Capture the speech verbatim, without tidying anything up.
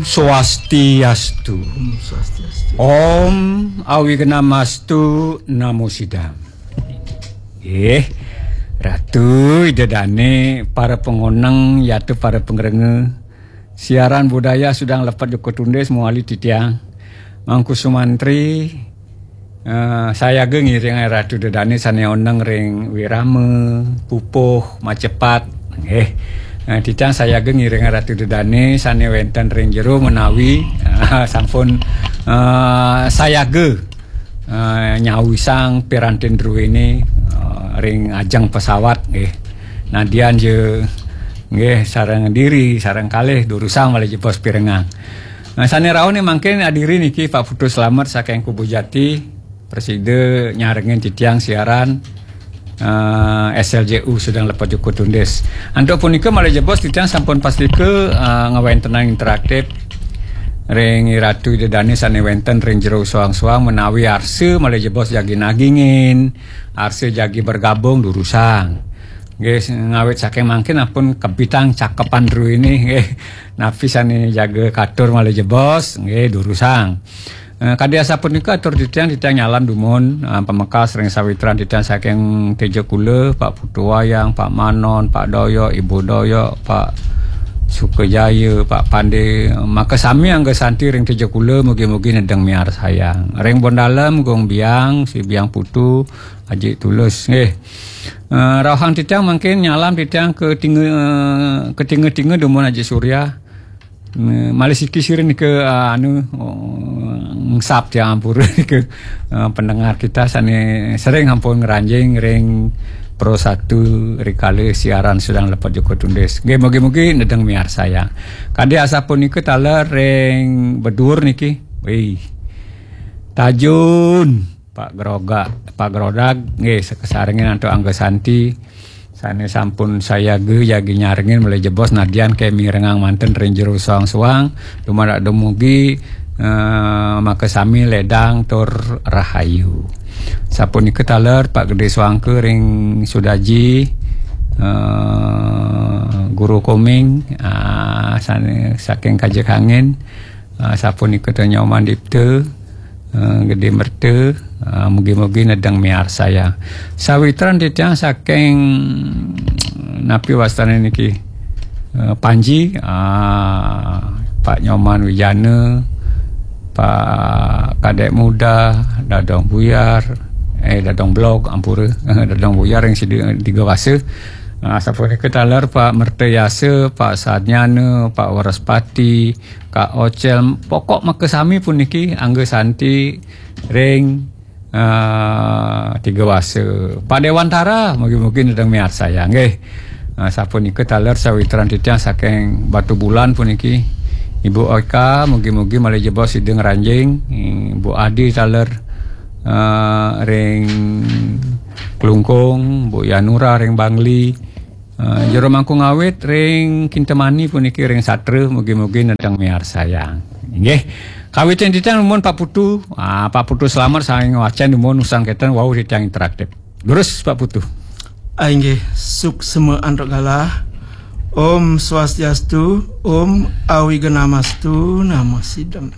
Swastiastu. Om Swastiastu. Om Awignamastu Namo Sidam. Eh, Ratu, Ida Dane, para pengoneng, yatu para pengrenge. Siaran budaya sudah lepet jukut tundis muali titiang. Mangku Sumantri, eh, sayaga ngiring Ratu Ida Dane sane oneng ring wirama, pupuh, macepat. Nggih. Eh, titiang sayaga ngiring Ratu Ida Dane sane wenten ring jero menawi, eh, sampun, eh, sayaga, eh, nyawisang pirantin druene, eh, ring ajeng pesawat, nggih. Nadian je, nggih, sareng diri, sareng kalih durusang malih jebos pirengang. Nah, sane raone mangkin adiri niki Pak Putu Slamet saking Kubu Jati, prasida nyarengin titiang siaran, eh, S L J U sedang lepat jukut tundis. Antuk punika malih jebos titiang sampun pastika, eh, ngawentenang interaktif ring Ratu Ida Dane sane wenten ring jero suang-suang menawi arsa malih jebos jagi nagingin, arsa jagi bergabung durusang. Nggih, ngawit saking mangkin ampun kebitang cakepan druene, nggih. Napi sane jaga katur malih jebos, nggih, durusang. Eh, kadi asapunika atur titiang, titiang nyalam dumun, eh, pamekas ring sawitran titiang saking Tejakula, Pak Putu Wayang, Pak Manon, Pak Doyok, Ibu Doyok, Pak Sukajaya, Pak Pande, makasami angga santi ring Tejakula, mugi-mugi nedeng miarsayang. Ring Bondalem, Gung Biang, Si Biang Putu, Aji Tulus, nggih. Eh, rauhang titiang mangkin nyalam titiang ke tinga, eh, ke tinga-tinga dumun Aji Surya. Eh, malih siki sira nika, eh, anu, oh, ngesap tiang ampura nika, eh, pendengar kita sane sering ampun ngranjing ring Pro Satu rikala siaran sedang lepat jukut tundis. Nggih, mugi-mugi nedeng miarsayang. Kadi asapunika taler ring Bedur niki. Wih. Tajun. Pak Groga, Pak Grodag, nggih, sakesarengin antuk angga santi. Sane sampun sayaga jagi nyarengin malih jebos nadian ke mirengang manten ring jero suang-suang, dumadak dumugi, eh, makasami ledang tur rahayu. Sapunika taler Pak Gede Suangka ring Sudaji, eh, Guru Koming, ah, sane saking Kajekangin, ah, sapunika Nyoman Dipta, eh, Gede Merta, eh, mugi-mugi nedeng miarsayang. Sawitran titiang saking napi wastane niki, eh, Panji, ah, Pak Nyoman Wijana, Pak Kadek Muda, Dadong Buyar, eh, Dadong Blog, ampura, Dadong Buyar yang sida tiga wasa. Ah, sapunika taler Pak Mertayasa, Pak Sadnyana, Pak Waraspati, Kak Ocel, pokok makasami puniki angga santi ring, ah, tiga wasa. Pak Dewantara, mugi-mugi nedeng miarsayang, nggih. Ah, sapunika taler sawitran titiang saking Batu Bulan puniki. Ibu Oka, mugi-mugi malih jebos sida ngranjing. Ibu Adi taler, ah, ring Klungkung, Bu Yanura ring Bangli. Eh, jero mangku ngawit ring Kintamani puniki ring Satra, mugi-mugi nedeng miarsayang. Inggih. Kawitin titiang dumun Pak Putu. Ah, Pak Putu Slamet saking Wacan dumun usang keten wau titiang interaktif. Durus Pak Putu. Ah, inggih, suksma antuk galah. Om Swastiastu, Om Awignamastu Namo Sidam.